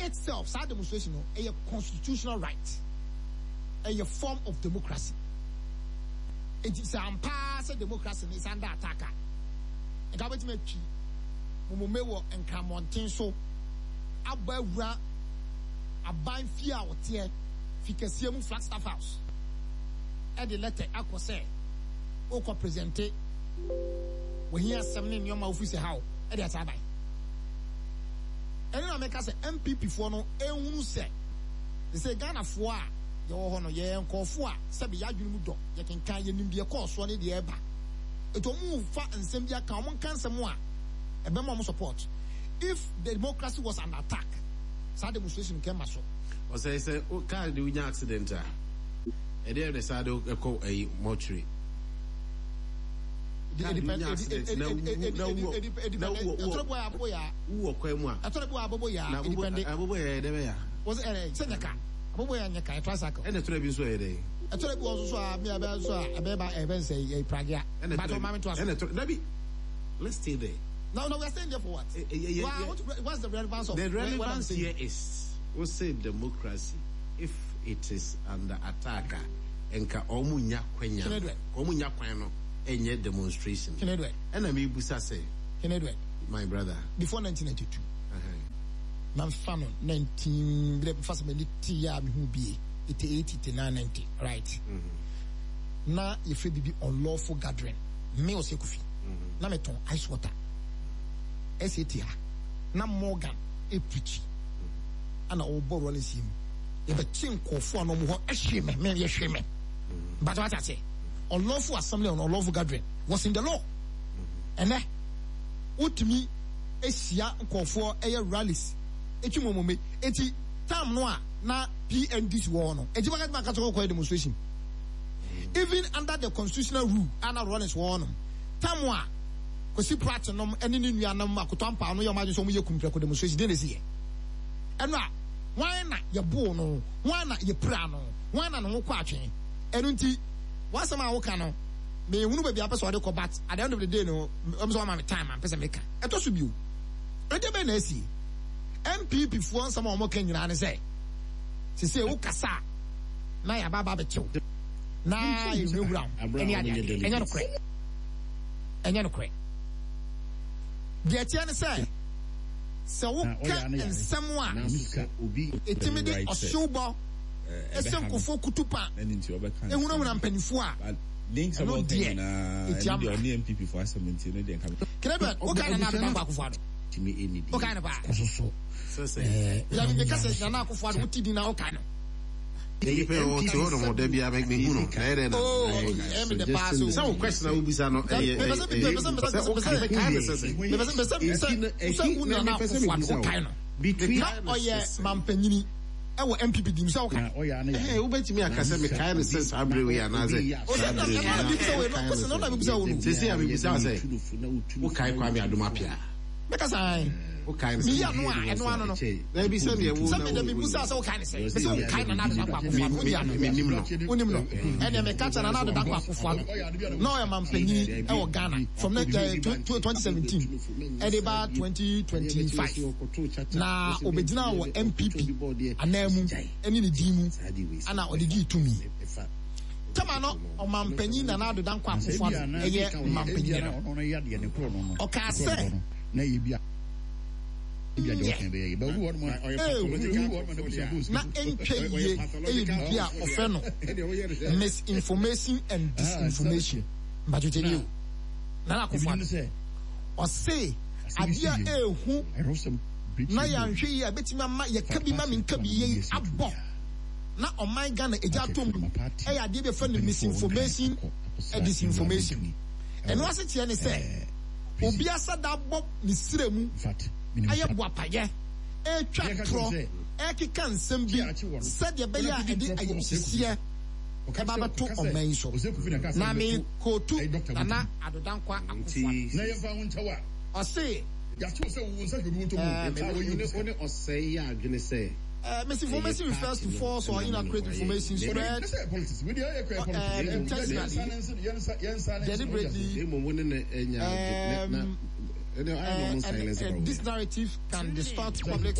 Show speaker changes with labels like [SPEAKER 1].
[SPEAKER 1] itself, saa demonstration no, ɛyɛ constitutional right. Ɛyɛ form of democracy. Enti sɛ ampa ara sɛ democracy no is under attack a, nka wobɛtumi atwi momome wɔ Nkrammɔnten so abɔ awura aban fie a ɔteɛ, fi kɛseɛ mu Flagstaff House, de lɛtɛ akɔ sɛ wokɔ presente w'ahiasɛm ne nneɛma a wofiri sɛ ha wo de akyɛ aban. Ɛno na meka sɛ NPP foɔ no nhunu sɛ sesei Ghanafoɔ a yɛwɔ hɔ no yɛyɛ nkorɔfoɔ a sɛbe yɛadwene mu dɔ, yɛkenkan, yɛnim deɛ ɛkɔɔ soɔ ne deɛ ɛreba. Nti wɔn fa nsɛm bi aka, wɔn nka nsɛm a ɛbɛma wɔn support. If the democracy was under attack, saa demonstration nka ɛmma so.
[SPEAKER 2] Ɔsɛe sɛ car de wonya accident a, ɛdeɛ na saa de ɛkɔ ɛyi mortuary. Car de wonya accident na wu na wu na wu wu wɔ kwan mu a.
[SPEAKER 1] Ɛtɔrɔ bi wɔ abobo yaa.
[SPEAKER 2] Na abobo abobo yɛ ɛdɛ bɛ ya.
[SPEAKER 1] Wɔsɛ ɛɛ sɛ nyɛ ka abobo yɛ nyɛ ka yɛ tricycle.
[SPEAKER 2] Ɛna ɛtɔrɔ bi nso yɛ dɛ.
[SPEAKER 1] Ɛtɔrɔ bi wɔ nso so a mi ɛbɛ nso a ɛbɛ ba ɛbɛ nsɛ yɛ pragea.
[SPEAKER 2] Ɛna
[SPEAKER 1] ɛtɔrɔ bi
[SPEAKER 2] ɛna ɛtɔrɔ dabi let's stay there.
[SPEAKER 1] No, no, we are staying there for what? Eh, eh, yeah, yeah, what, what's the relevance of
[SPEAKER 2] the relevance here is we say democracy if it is under attack a nka ɔmo nya kwanya ɔmo nya kwan no ɛnyɛ demonstration. Ɛna mi busa sɛ. My brother.
[SPEAKER 1] Before 1992. Na nfa no 19 bere nfa sɛ m'ani te yɛ a mehu bie 88 89 90 right. Mm -hmm. Na yɛfrɛ biribi unlawful gathering. Me ɔsɛ kofi. Mm -hmm. Na metɔn ice water. SAT ha. Na Morgan ɛpreachi. Ana ɔbɔ Rollins yi mu. Yɛbɛkye nkurɔfoɔ a na wɔn hɔ ɛhwe me me yɛhwe me. But what I say, unlawful assembly and unlawful gathering was in the law. Ɛnɛ wotumi hyia nkurɔfoɔ ɛyɛ rallies etwi mu ɔmɔmɛ eti time no a na PNDC wɔ hɔ no eti baka tuma kasa kɔkɔyɛ demonstration even under the constitutional rule a na Rawlings wɔ hɔ no time a Kwesi Pratt nom ɛne ne nuanom Akoto Ampaw no yɛ wɔn adwene sɛ wɔn yɛ kumprɛko demonstration deɛ na esi yɛ ɛno a hwan na yɛboo no hwan na yɛpira no hwan na ne ho kɔ atwe ɛno nti w'asɛm a woka no mehunu baabi a pɛ sɛ ɔde kɔ but at the end of the day no ɛm sɛ wama me time a mpɛ sɛ meka ɛtɔ so bio ɛdeɛ bɛn na asie NPP foɔ nsɛm a wɔka nyinaa ne sɛ sese wo kasa a na yɛaba aba abɛkyew na yɛhurahura wo ɛne adeade ɛnyɛ nokorɛ ɛnyɛ nokorɛ deɛ ɛteɛ ne sɛ sɛ woka nsɛm a ɛtumi de ɔhyewbɔ ɛsɛ nkurɔfoɔ kutupa ehunahuna mpanimfoɔ a ɛno deɛ ɛtia mmara. Kenneth wokae Nana Addo Dankwa Akufo-Addo? Wokae no paa? Dabi meka sɛ Nana Akufo-Addo wote din na wokae no.
[SPEAKER 2] Nipa yi ɔte hɔ nom da bia mehu no na ɛyɛ dɛ na sɛ wo question a wobisa no ɛyɛ sɛ wokae mekae no sɛ sɛ
[SPEAKER 1] sɛ wo Nana Akufo-Addo wokae no na ɔyɛ mampanyini ɛwɔ NPP dim sɛ woka.
[SPEAKER 2] Ɛhɛn, wobɛtumi aka sɛ mekae no sɛ saa berɛ wei anaasɛ saa berɛ wei. Seesei a mebisa wo sɛ, wokae Kwame Adom Appiah?
[SPEAKER 1] Mɛka sɛ ae.
[SPEAKER 2] Wokae no sɛ
[SPEAKER 1] Meyi ano a, ɛno ano no.
[SPEAKER 2] Daabi sɛdeɛ wo
[SPEAKER 1] Sɛ mede mebusa sɛ wokae no sɛ, mese wokae Nana Addo Dankwa Akufo-Addo, wonyi ano.
[SPEAKER 2] Menim no.
[SPEAKER 1] Wonim no. Ɛneɛ meka kyerɛ Nana Addo Dankwa Akufo-Addo, na ɔyɛ mampanyini ɛwɔ Ghana from 2017 ɛde ba 2025. Na obegyinaa wɔ NPP ananmu ne ne din mu na ɔde gyee tumi. Tɛma no Ɔmanpanyin Nana Addo Dankwa Akufo-Addo yɛ mampanyin no, ɔkaa sɛ, Nyɛ, ehu, na ɛntwa yie yɛ biribi a wɔfrɛ no misinformation and disinformation. Mpakyɛw tie nie o, Nana Akufo-Addo, ɔse Adeɛ a ɛyɛ hu na yɛanhwɛ yie a ɛbɛtumi ama yɛka bi ma menka bi yei abɔ na ɔman Ghana agya atɔ mu yɛ adeɛ bi a yɛfrɛ no misinformation and disinformation. Ɛno asekyerɛ ne sɛ obi asada abɔ ne srɛ mu ayɛ boapayɛ retwa torɔ rekeka nsɛm bi sɛdeɛ ɛbɛyɛ a ɛde ayamhyehyeɛ ɛba abɛto ɔman yi so. Na mekootu Nana Addo Dankwa Akufo-Addo. Ɔse.
[SPEAKER 2] Ɛɛ,
[SPEAKER 1] Misinformation refers to false or inaccurate information spread intentionally, deliberately, and this narrative can distort public.